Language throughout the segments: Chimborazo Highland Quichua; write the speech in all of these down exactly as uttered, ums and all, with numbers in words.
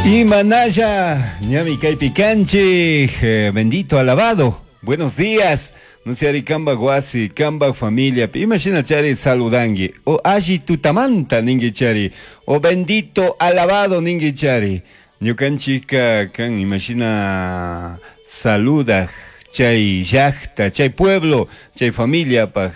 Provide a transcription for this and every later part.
Imanalla, ñami kaypi kanchik, eh, bendito alabado. Buenos días. No sé, kamba wasi, kamba familia. Imagina chari saludangi. O alli tutamanta ningi chari. O bendito alabado ningi chari. Ñukanchika kan imagina saluda chay llaqta, chay pueblo, chay familia paj.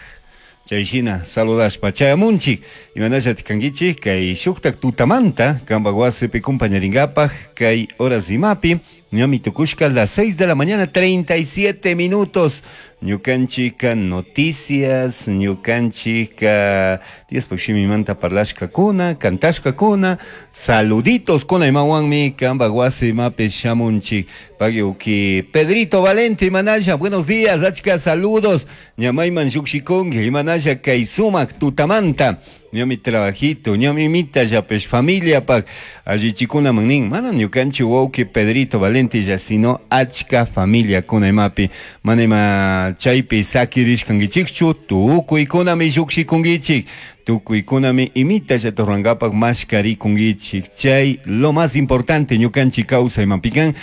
Chay shina saludashpa chayamunchik imanalla tikankichik kay shuktak tutamanta kamba wasipi kumpañaringapaj kay horas imapi ñami tukushka las seis de la mañana treinta y siete minutos. Ñukanchika noticias, ñukanchika Diospaj shimimanta parlashkakuna, kantashkakuna, saluditos kuna imawanmi kamba wasi imapi shamunchik. Pagiuki Pedrito Valente imanalla, buenos días, achka saludos. Ñamayman llukshikunki imanalla kay sumak tutamanta. Ñami trabajito, ñami mita yapes familia pak allichikuna manin, mana ñukanchik wawki Pedrito Valente ya sino achka familia kuna imapi, mana ima chaypi sakirishkankichikchu, tukuykunami llukshikunkichik, tukuykunami imita llaturrankapak mashkarikunkichik. Chay lo más importante ñukanchik kawsay imapikan,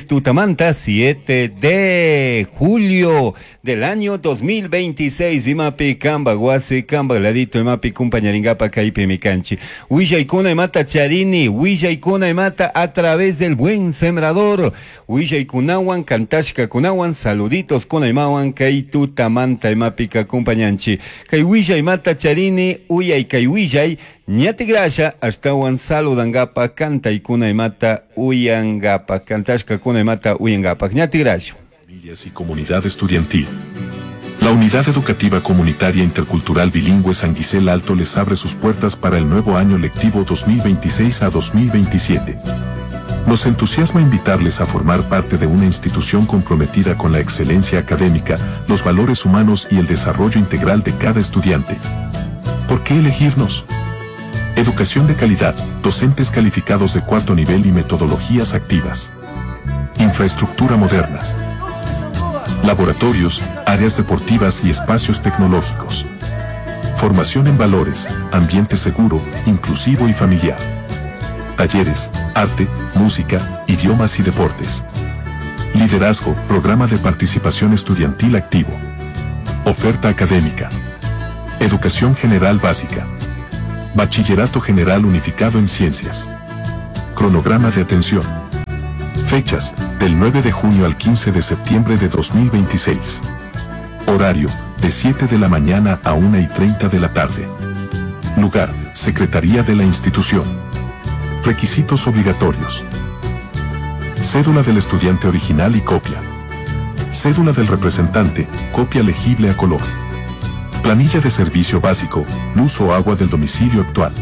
tutamanta siete de julio del año dos mil veintiséis imapi kamba wasi kamba ladito imapi kumpañaringapa kaypi mikanchi. Willaykuna imata charini, willaykuna imata a través del buen sembrador, willaykunawan kantashkakunawan saluditos kuna imawan kay tutamanta imapika kumpañanchi. Kay willay imata charini, uyay kay willay ñatigrasha ashtawan saludangapa kantaykuna imata uyangapa, kantashkakuna imata uyangapa, ñatigrasha. Familias y comunidad estudiantil. La Unidad Educativa Comunitaria Intercultural Bilingüe San Gisel Alto les abre sus puertas para el nuevo año lectivo dos mil veintiséis a dos mil veintisiete. Nos entusiasma invitarles a formar parte de una institución comprometida con la excelencia académica, los valores humanos y el desarrollo integral de cada estudiante. ¿Por qué elegirnos? Educación de calidad, docentes calificados de cuarto nivel y metodologías activas. Infraestructura moderna. Laboratorios, áreas deportivas y espacios tecnológicos. Formación en valores, ambiente seguro, inclusivo y familiar. Talleres, arte, música, idiomas y deportes. Liderazgo, programa de participación estudiantil activo. Oferta académica. Educación general básica. Bachillerato general unificado en ciencias. Cronograma de atención. Fechas, del nueve de junio al quince de septiembre de dos mil veintiséis. Horario, de siete de la mañana a una y treinta de la tarde. Lugar, Secretaría de la institución. Requisitos obligatorios. Cédula del estudiante original y copia. Cédula del representante, copia legible a color. Planilla de servicio básico, luz o agua del domicilio actual.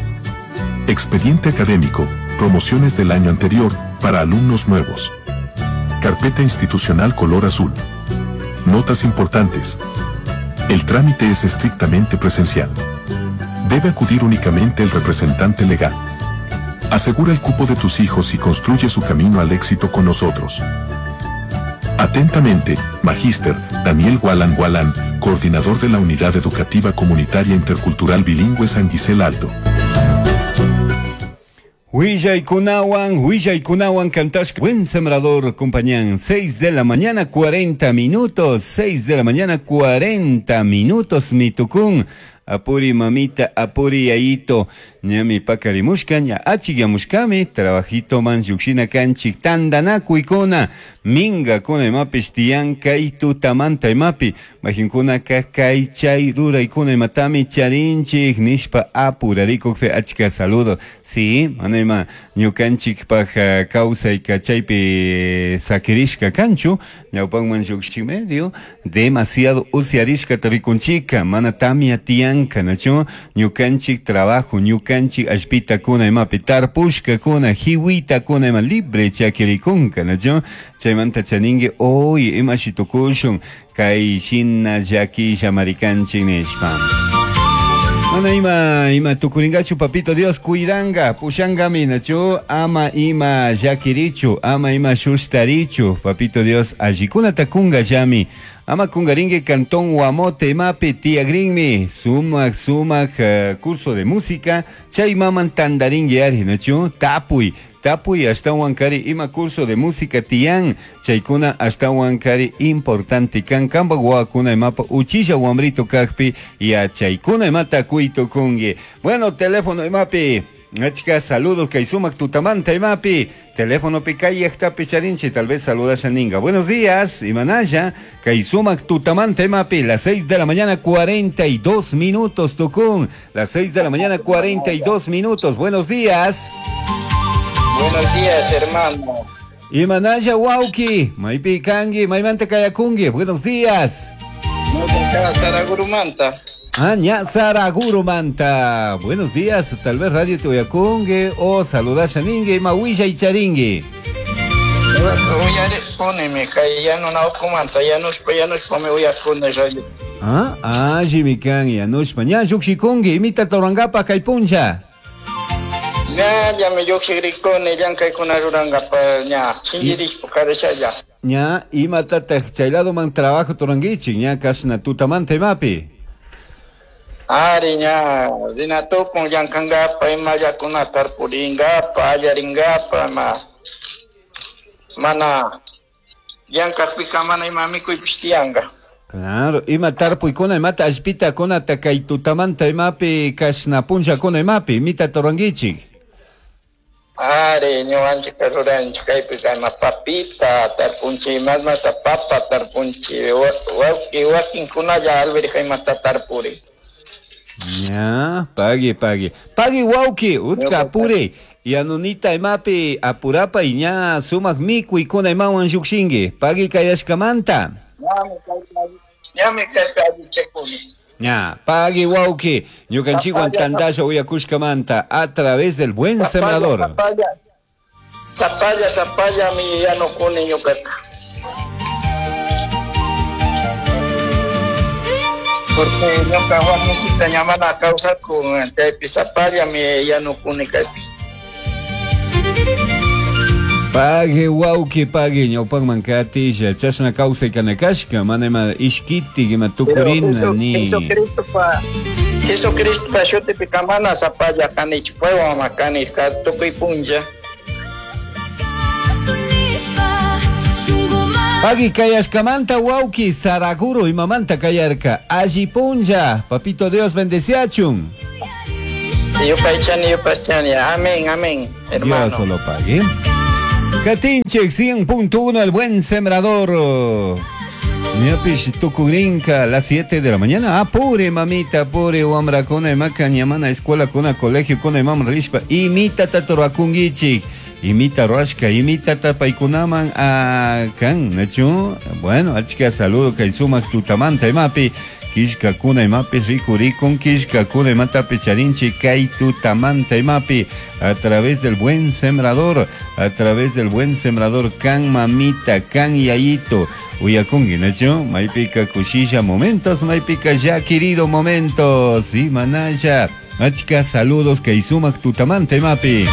Expediente académico, promociones del año anterior, para alumnos nuevos. Carpeta institucional color azul. Notas importantes. El trámite es estrictamente presencial. Debe acudir únicamente el representante legal. Asegura el cupo de tus hijos y construye su camino al éxito con nosotros. Atentamente, Magíster Daniel Gualán Gualán, coordinador de la Unidad Educativa Comunitaria Intercultural Bilingüe San Gisel Alto. Huillay kunawan, huillay kunawan cantashka. Buen sembrador, compañán. seis de la mañana, cuarenta minutos. seis de la mañana, cuarenta minutos, mi tucún. Apuri mamita, apuri yayito. Ñami pakarimushka, ña achiyamushkami, trabajito man yukshina kanchik, tandanakuykuna, minga kuna imapish tiyan kay tutamanta imapi, majinkuna ka kay chay ruraykuna imatami charinchik, nishpa apurarikukpi achka saludo. Sí, mana ima ñukanchikpaj kawsayka chaypi sakirishka kanchu, ñawpanman yukshi medio, demasiado usyarishka rikunchika, mana tamia tiyanka, nachu, ñukanchik trabajo, ñukanchik allpita kuna imapi tarpushka kuna hiwita kuna ima libre chakirikunka, nachu, chaymanta chaningi hoy ima shitukushun kay shina llakisha marikanchik nishpa. Mana ima ima tukuringachu papito Dios cuidanga pushangami nachu ama ima llakirichu ama ima shustarichu papito Dios allikunata kunga llami Ama kungaringue Cantón Guamote imapi tiyagrinmi sumak sumak uh, curso de música chay maman tandaringue ari nachu tapuy tapuy ashtawan kari ima curso de música tiyan chaykuna ashtawan kari importante kan kamba wawakuna imapa uchilla wamrito kakpi yachaykuna imata kuytukunki. Bueno, teléfono imapi achka saludos kay sumak tutamanta imapi teléfono pi kay llaqtapi charinchi tal vez saludasha ninga. Buenos días imanalla kay sumak tutamanta imapi las seis de la mañana cuarenta y dos minutos tukun, las seis de la mañana cuarenta y dos minutos. Buenos días. Buenos días, hermano. Imanalla wauki, maypi kanki, maymanta kayakunki. Buenos días. Saragurumanta. Ah, ña Saragurumanta. Buenos días, tal vez radio te uyakunki o saludasha ningi, ima willa y charingi. Ah, ah, jimikan, yanushpa, ña llukshikunki, imita torangapa kay puncha. Ña, ya me llukshikrikuni, llank'aykuna rurankapa ña, sinchirishpa karashalla. Ña, imatataq chay ladoman trabajo turankichik, ña kashna tutamanta imapi. Ari ña, rinatukun llank'ankapa, imallakuna tarpurinkapa, allarinkapa, ma mana llank'akpika mana ima mikuypish tiyanka. Claro, ima tarpuykuna imata allpitakuna kay tutamanta imapi kashna punllakuna imapi imita turankichik. Ari, ñukanchikka ruranchik kaypika ima papita tarpunchik, imasmata papa tarpunchik, wawki wakinkunalla alverja imata tarpuri. Ya, pagui, pagui. Pagui wawki, utka apure. Yanunita imapi apurapa y ña sumak mikuykuna imawan llukshinki. Pagui kayashkamanta. Ñami kaypi allichakuni. Ña, pagui wawki, ñukanchikwan tandalla uyakushkamanta a través del buen sembrador. Zapalla, zapalla, zapalla mi yanukuni ñukaka. Porque ñuka warmisita ña mana kawsakun, chaypi zapalla mi yanukuni kaypi. Pague wawki, pague ñawpakman katisha, chashna kawsay kanakashka, mana ima ishkiti, ima tukurina, ni. Jesucristopa, Jesucristopa shutipika mana zapalla kanichu, paywan ma kani, tukuy punlla. Pagui kayashkamanta wawki, Saraguro imamanta kayarka, alli punlla, papito Dios bendeciachun. Yupaychani, yupaychani, amén, amén, hermano. Dios lo pague. Katinchik cien punto uno, el buen sembrador. Ñapish tukurinka a las siete de la mañana. Apure, mamita, apure, wamrakuna, imaka, ñamana, escuela, kuna, colegio, kuna, imam, rishpa, imita taturuakungichik, imita ruashka, imita tapaykunaman, akan, nachu. Bueno, achka saludo, kay sumak tutamanta, imapi, kishkakuna, imapi, rikurikun, kishkakuna, imatapi, charinchi, kay tutamanta, imapi, a través del buen sembrador, a través del buen sembrador, kan mamita, kan yayito, uyakungi, nachu, maypika kushilla momentos, maypika ya querido momentos, y manaya, achka saludos, kay sumak tutamanta, imapi.